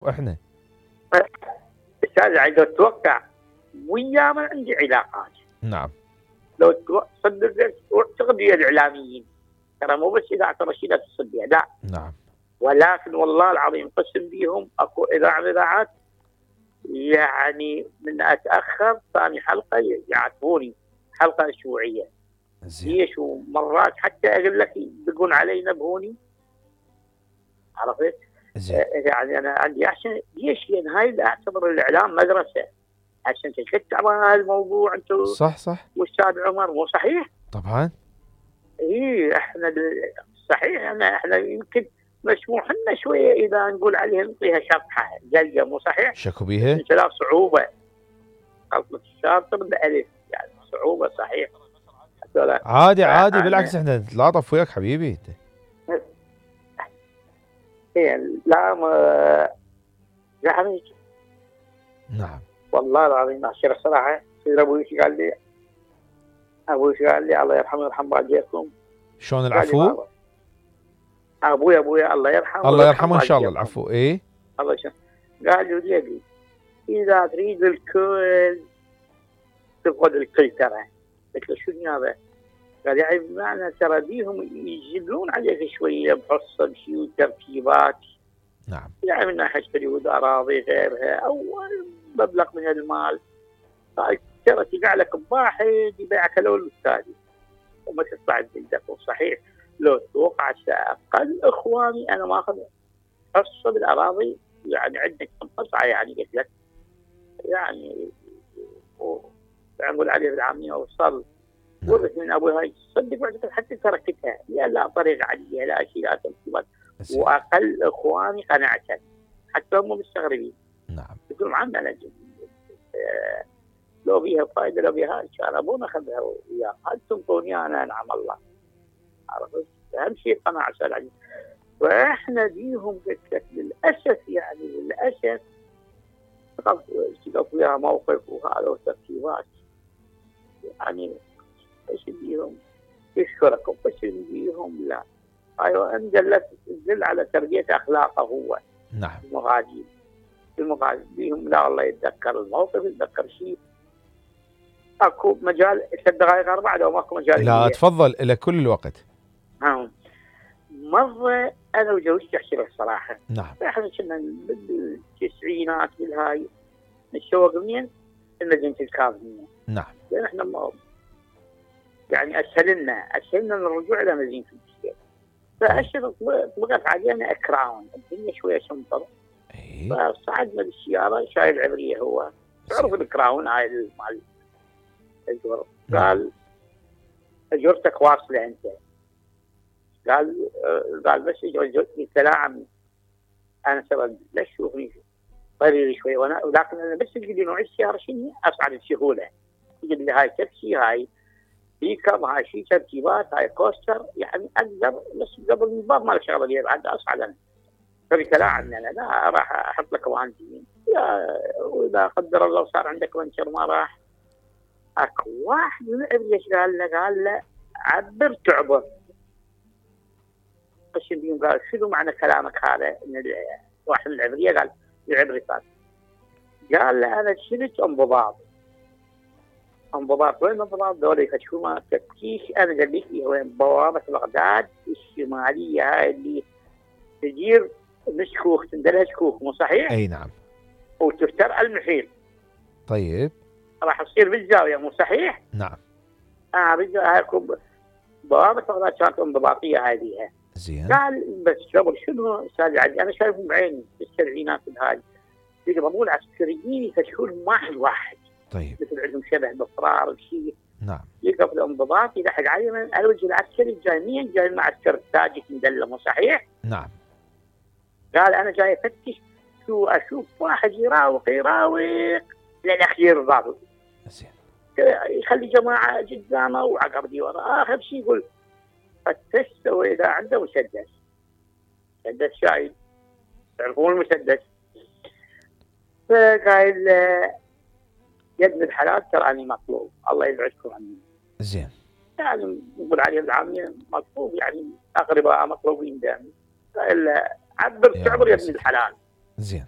واحنا استاذ لو تتوقع ويا ما عندي علاقات. نعم. لو صدق واعتقد ويا الاعلاميين، ترى مو بس اذاعه رشيده اتصل بها، لا. نعم. ولكن والله العظيم قسم بيهم اكو اذاعه من الاذاعات يعني من اتاخر ثاني حلقه يعاتبوني حلقه اسبوعيه. ليش؟ ومرات حتى اقول لك يدقون علي ينبهوني. عرفت؟ يعني انا عندي احسن ليش؟ لان هاي اعتبر الاعلام مدرسه عشان تشجع على الموضوع. انتم صح واستاذ عمر مو صحيح؟ طبعا. احنا صحيح احنا يمكن مسموح لنا شويه اذا نقول عليها نعطيها شطحه جلجه، مو صحيح؟ شكو بيها؟ لا صعوبه غلطه الشاطر بالالف، يعني صعوبه صحيح. عادي بالعكس احنا نتلاطف وياك حبيبي انت. لا يعني نعم والله العظيم احكي الصراحه. ابوي قال لي الله يرحمه ويرحم والديكم. شلون العفو؟ ابوي الله يرحمه الله يرحمه ان شاء الله. العفو. ايه الله يرحمه. قال لي اذا تريد الكل تفقد الكل ترى. قلت له شنو هذا؟ قال يعني بمعنى ترى بيهم يجلون عليك شويه بحصه بشيء وتركيبات. نعم. يعني من ناحيه تريد اراضي غيرها او مبلغ من المال، ترى تقع لك بواحد يبيعك الاول والثاني وما تطلع بيدك. صحيح لو توقع اقل اخواني انا ما اخذ حصه بالاراضي، يعني عندك قطعه يعني قلت لك يعني نقول عليه بالعاميه وصل ورث من ابوي. هاي صدق وعدتك حتى تركتها لا طريقه عاديه لا شيء لا تنصيبات. واقل اخواني قناعه حتى هم مستغربين. نعم. يقولون عمنا لو بيها فائده لو بيها ان شاء الله ابونا خذها وياه، هل تنطوني انا؟ نعم الله. عرفت؟ اهم شيء قناعه سلعي. واحنا بيهم قلت لك للاسف يعني للاسف تقف وياها موقف وهذا وترتيبات يعني ايش بيهم يشكركم بس بيهم لا. ايوه ان دل على تربيه اخلاقه هو. نعم. المغادر بيهم لا والله يتذكر الموقف يتذكر شيء. اكو مجال 3 دقائق 4 لو ماكو مجال. لا تفضل الى كل الوقت. مره انا وزوجتي احكي لك الصراحه. نعم. احنا كنا بالتسعينات بالهاي نتشوق منين؟ المدينه الكاظميه. نعم. لان احنا يعني اسهلنا الرجوع الى مدينه البشير. فاشر طلقت علينا اكراون الدنيا شويه شمطر. فصعدنا بالسياره شايل العبريه هو تعرف الكراون هاي مال الجر. قال اجرتك واصله انت. قال بس قلت لا عمي انا سبب لا تشوفني طريقي شوي وانا ولكن انا بس تقول لي نوع السياره شنو اصعد بسهوله. تقول لي هاي تاكسي هاي بيكم هاي شيء تركيبات هاي كوستر يعني اقدر بس قبل من باب ما الشغله اللي بعد اصعد انا. فقلت لا عمي انا لا راح احط لك وانتين واذا قدر الله صار عندك بنشر ما راح. اكو واحد من العبريه قال له عبر تعبر. قال شنو معنى كلامك هذا؟ ان واحد من العبريه قال العبري قال له انا شلت انضباط وين انضباط ذولي يفتشون ما تفتيش. انا قال لي وين بوابه بغداد الشماليه هاي اللي تجير مشكوك تندلها شكوك مو صحيح؟ اي نعم. وتفتر المحيط. طيب راح تصير بالزاويه مو صحيح؟ نعم. هاي بوابه بغداد كانت انضباطيه هذه. زين. قال بس قبل شنو استاذ عدي انا شايفهم بعيني بالسبعينات هاي يقبضون العسكريين يفتشون واحد. طيب. مثل عندهم شبه باصرار وشيء. نعم. يقبض انضباط يلحق عليهم الوجه العسكري جاي مين؟ جاي المعسكر التاجك مدلة مو صحيح؟ نعم. قال انا جاي افتش اشوف واحد يراوق للاخير ضابط. زين. يخلي جماعه قدامه وعقب وراه. اخر شيء يقول فتشت واذا عنده مسدس شايل تعرفون المسدس. فقال يد من الحلال تراني مطلوب الله يبعدكم عني. زين. يعني نقول عليه العامية مطلوب يعني اقرباء مطلوبين دائما. قال عبر تعبر يد من الحلال. زين.